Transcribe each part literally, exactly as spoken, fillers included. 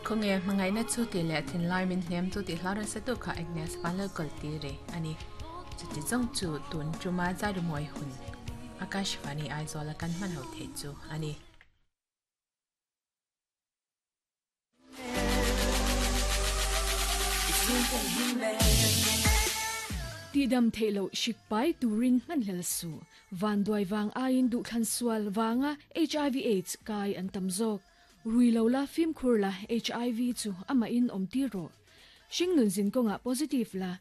Khonge mangai na chu ti le thin lai min hnem chu ti hlar sa tu kha Agnes panal kal ti re ani chu ti jong chu tun chuma zai ru moi hun Akashvani Aizawl kan man ho the chu ani. Ti dam thelo shikpai turin man hel su van doi wang ain du khan sual wanga H I V AIDS kai an tamzok ruilo la phim khur la H I V chu ama in om ti ro shing nun zin konga positive la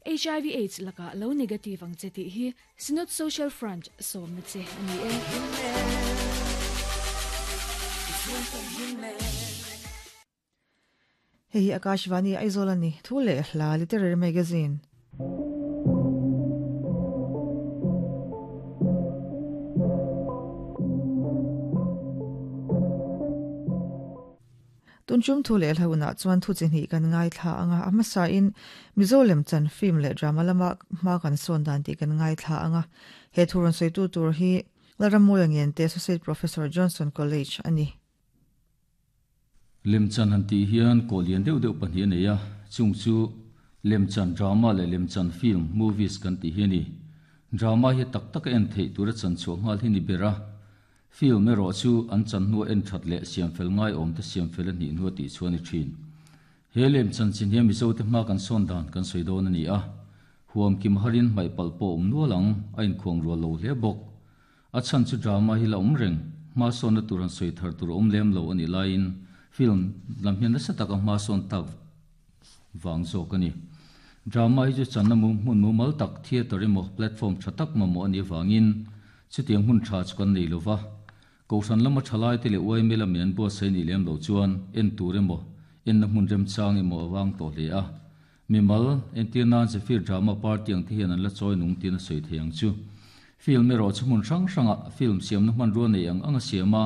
H I V AIDS laka lo negative ang cheti hi Synod Social Front som na che ani e. Hei Akashvani Aizawl ani thu le hla literary magazine. Tunchum thu le hlauna chuan thu chi ni kan ngai thla anga amasa in Mizolem chan film le drama lama ma kan son dan ti kan ngai thla anga he thuron sei tu tur hi Laramoyang te Associate Professor Johnson College ani. Lemchan han ti hian kolian deuh deuh pahnih nei a chung chu lemchan drama le lemchan film movies kan ti hi ni drama hi tak tak en thei tura chan chu ngal hi ni bera film ero chu an chan nu en that le siam fel ngai om te siam fel ni nu ti chuan i thin he lemchan chin hian mizo te ma kan son dan kan soi don ani a huam kim harin mai palpo um nualang a in khuang ro lo hle bok a chan chu drama hi la um reng ma son na turan soi thar tur um lem lo ani lain film lam hian nasa taka ma son tak wang zo kani drama hi chu channa mu mun mu mal tak theater emaw platform tha tak ma mo ani wangin chutiang hun tha chu kan nei lova kosan lama thalai te le oi mela men bo sei ni lem lo chuan en tur emaw en na hmun rem chang emaw awang to hle a mimal entir nan che fir drama party ang te hian an la choi nung tin a sei theiang chu film ero chu hmun hrang hranga film siam na hman ro nei ang anga siama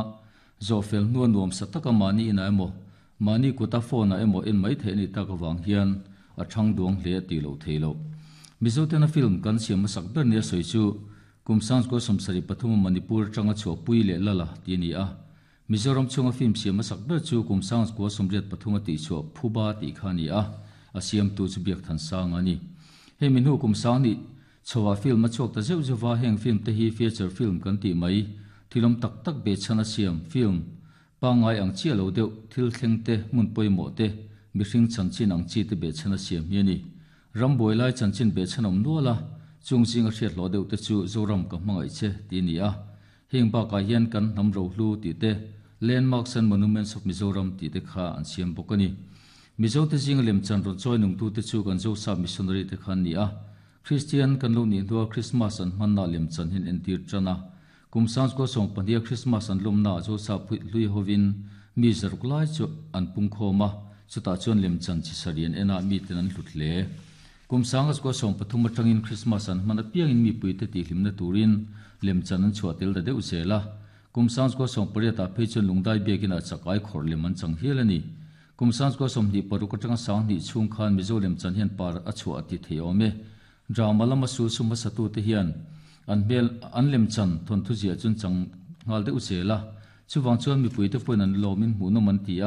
zo fel nuan nuam sataka mani ina emaw mani kuta phone a emaw en mai the ni tak awang hian a thang duang hle ti lo theilo mizo tena film kan siam sak ber ne soi chu kumsang ko somsari pathum Manipur tanga chu pui le lala ti ni a Mizoram chunga film siam sak ber chu kumsang ko somriat pathum ti chu phuba ti khani a a siam tu chu biak than sang ani he min hu kumsang ni chowa film a chok ta zeu zewa heng film te hi feature film kan ti mai thilom tak tak be chana siam film pangai ang chi lo deuh thil thleng te mun poimo te mihring chanchin ang chi te be chana siam hi ani ramboi lai chanchin be chanom nuala chung jing a hriat lo deuh te chu Zoram ka hmangai che ti ni a heng ba ka hian kan hnam ro hlu ti te landmarks and monuments of Mizoram ti te kha an siam bawk ani Mizo te jing lem chan ron choi nung tu te chu kan zo sa missionary te khan ni a Christian kan lo ni dua Christmas an manna lem chan hin entir chana kumsang ko song pania Christmas an lomna zo sa phui lui hovin mi zaruk lai chu an pung khoma chuta chuan lem chan chi sarian ena mi ten an hlut le kumsang ko song pathum atangin Christmas an mana piang in mi pui te ti hlimna turin lem chan an chua tel da deuh zela kumsang ko song pariata phei chun lungdai biakin a chakai khor lem an chang hial ani kumsang ko som ni paruk atanga sang ni chung khan mizo lem chan hian par a chua ti theiome drama lama su suma satu te hian an bel an lem chan thon thu zia chun chang ngal deuh zela chuwang chuan mi pui te pun an lomin hmu no man ti a